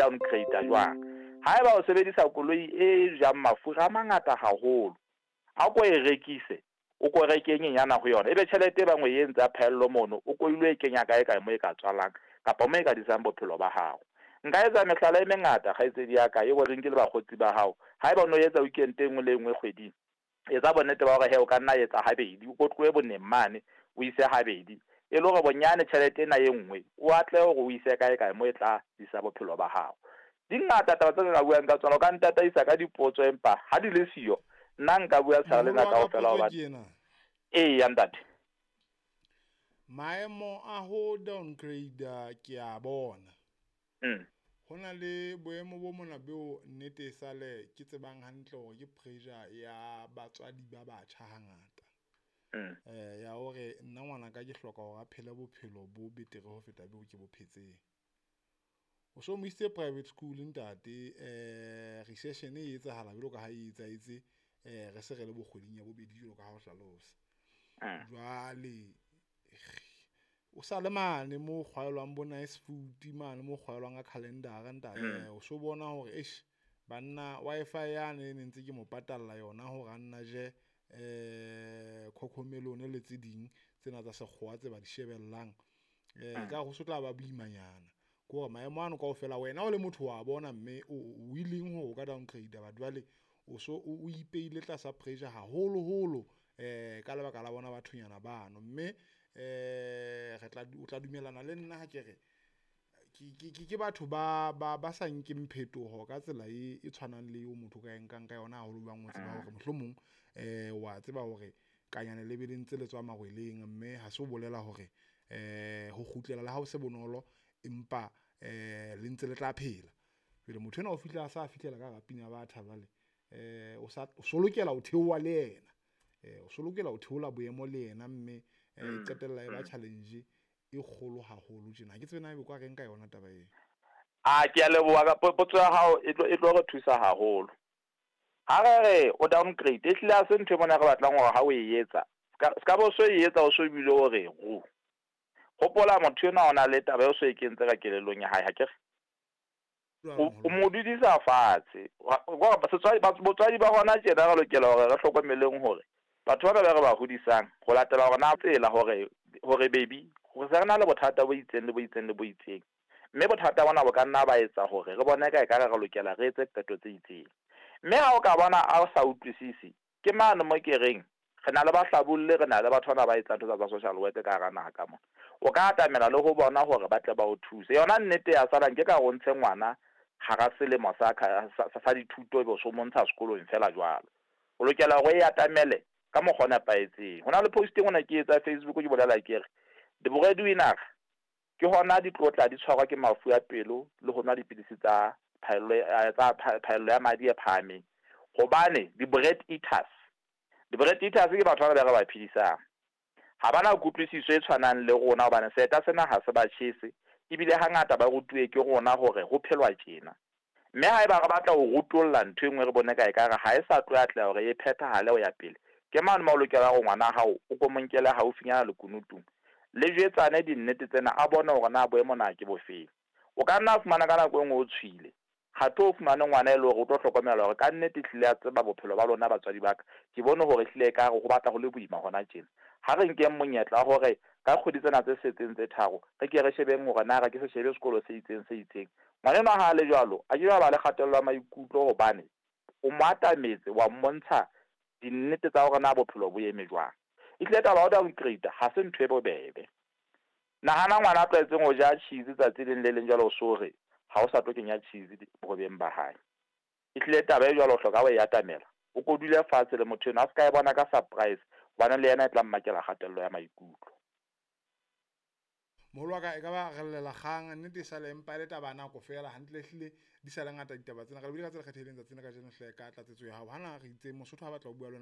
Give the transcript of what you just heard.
downgrade jwang. Haeba o sebedisa koloi e jang mafura a mangata haholo, a ko e rekise, o ko reke e nyenyana ho yona, ebe tjhelete e bang o e entse ya phaello mono, o ko ilo e kenya kae kae mo e ka tswalang kapa mo e ka disang bophelo ba hao. Nka etsa mehlala e mengata, kgaitsedi ya ka, eo re nkile bakgotsi ba hao. Haeba o no etsa weekend e nngwe le e nngwe kgweding, etsa bonnete ba hore he o ka nna etsa habedi, o ko tlohe boneng mane o ise habedi, e le hore bonyane tjhelete ena e nngwe o atle hore o ise kae kae mo e tla disa bophelo ba hao. Di ngata taba tse ka buang ka tsona, o ka ntataisa ka dipotso, empa ha di le siyo nna nka bua tshara lena Moholo wa ka, kaofela potso hobane ke ena. Eya ntate. Maemo a ho downgrade ke a bona. Ho na le boemo bo mona beo nnete e sale ke tsebang hantle hore ke pressure ya batswadi ba batjha hangata. Ya hore nna ngwanaka ke hloka hore a phele bophelo bo betere ho feta beo ke bo phetseng. O so mo isitse private school ntate, recession e etsahala jwalo ka ha e etsahetse, re se re le bo kgweding ya bobedi jwalo ka ha o hlalosa. Jwale o sa le mane mo kgwaelwang bo nice food mane mo kgwaelwang ka calendar-a ntate. O so bona hore eish banna Wi-Fi yane e ne ntse ke mo patalla yona hore a nna je cocomelon le tse ding tsena tsa sekgowa tse ba di shebellang, ekare ho so tla ba boimanyana. Ke hore maemo ano kaofela wena o le motho wa bona, mme o willing hore o ka downgrade, but jwale o so o ipeile tlasa pressure haholoholo ka lebaka la bona bathonyana bano. Mme re tla o tla dumellana le nna ha ke re ke batho ba sa nkeng phetoho ka tsela e tshwanang le eo motho o ka e nkang ka yona haholo bang o tseba hore mohlomong wa tseba hore kanyane le be le ntse le tswa marweleng, mme ha se o bolela hore ho kgutlela le ha o se bonolo, empa le ntse le tla phela. Jwale motho enwa o fihla a sa fihlela ka hara pina batha jwale, o sa o so lokela ho theoha le yena, o so lokela ho theola boemo le yena, mme e qetella e ba challenge e kgolo haholo tjena. Ha ke tsebe na ebe kwa reng ka yona taba eo. A ke a leboha ka potso ya hao, e tlo re thusa haholo. Ha re re o downgrade, e hlile ha se ntho e mona re batlang hore ha o e etsa, ska bo so e etsa o so bile o re ru. Hopola motho enwa o na le taba eo so e kentse ka kelellong ya hae, ha ke re? O mo dudisa fatshe. Botswadi ba hona tjena re lokela hore re hlokomeleng hore batho bana ba re ba hodisang ho latela hore na tsela hore baby re se re na le bothata bo itseng le bo itseng le bo itseng, mme bothata bona bo ka nna ba etsa hore re bone ka ekare re lokela re etse qeto tse itseng. Mme ha o ka bona a o sa utlwisisi, ke mane mo ke reng re na le bahlabolle, re na le batho bana ba etsang ntho tsa social work ka hara naha ka mona. O ka atamela le ho bona hore ba tle ba o thuse. Yona nnete ya salang ke ka o ntshe ngwana hara selemo sa dithuto ebe o so montsha sekolong fela jwalo. O lokela hore o e atamele ka mokgwa o nepahetseng. Ho na le post e nngwe ke etsa Facebook ke bolela ke re di-breadwinner ke hona di tlotla di tshwarwa ke mafu a pelo le ho nwa dipidisi tsa phaello ya madi e phahameng, hobane di-bread eaters ke batho ba re ba phedisang, ha bana kutlwisiso e tshwanang le rona, hobane seeta sena ha se ba tjhese, ebile hangata ba rutuwe ke rona hore ho phelwa tjena. Mme haeba re batla ho rutolla ntho e nngwe re bone ka ekare ha e sa tlo atleha hore e phethahale ho ya pele, ke mane mo o lokela hore ngwana hao o ko mo nkele haufinyana lekunutung, le jwetsane dinnete tsena, a bone hore na boemo na ke bofeng. O ka nna fumana ka nako e nngwe o tshwile, ha tlo fumane ngwana e le hore o tlo hlokomela hore ka nnete ehlile a tseba bophelo ba lona batswadi ba ka, ke bone hore ehlile ekare ho batla ho le boima hona tjena. Ha re nkeng monyetla wa hore ka kgwedi tsena tse setseng tse tharo re ke re shebeng hore na re ke se shebe sekolo se itseng se itseng. Ngwana enwa ha a le jwalo, a ke ba le kgatello ya maikutlo, hobane o mo atametse wa mmontsha dinnete tsa hore na bophelo bo eme jwang. Ehlile taba ya ho downgrade ha se ntho e bobebe. Nahana ngwana a tlwaetseng ho ja cheese tsatsi leng le leng jwalo, o so re ha o sa tlo kenya cheese bohobeng ba hae. Ehlile taba e jwalo o hloka ho e atamela, o ko dule fatshe le motho enwa, a se ka e bona ka surprise, hobane le yena e tla mmakela kgatello ya maikutlo. Moholo wa ka, e ka ba re llela kgang nnete e sale empa e le taba ya nako fela, hantle ehlile di sa le ngata ditaba tsena. Re lebile ka tsela kgethehileng tsatsing la kajeno hle ka tlatsetso ya hao. Hana re itse Mosotho ha batla ho bua le wena.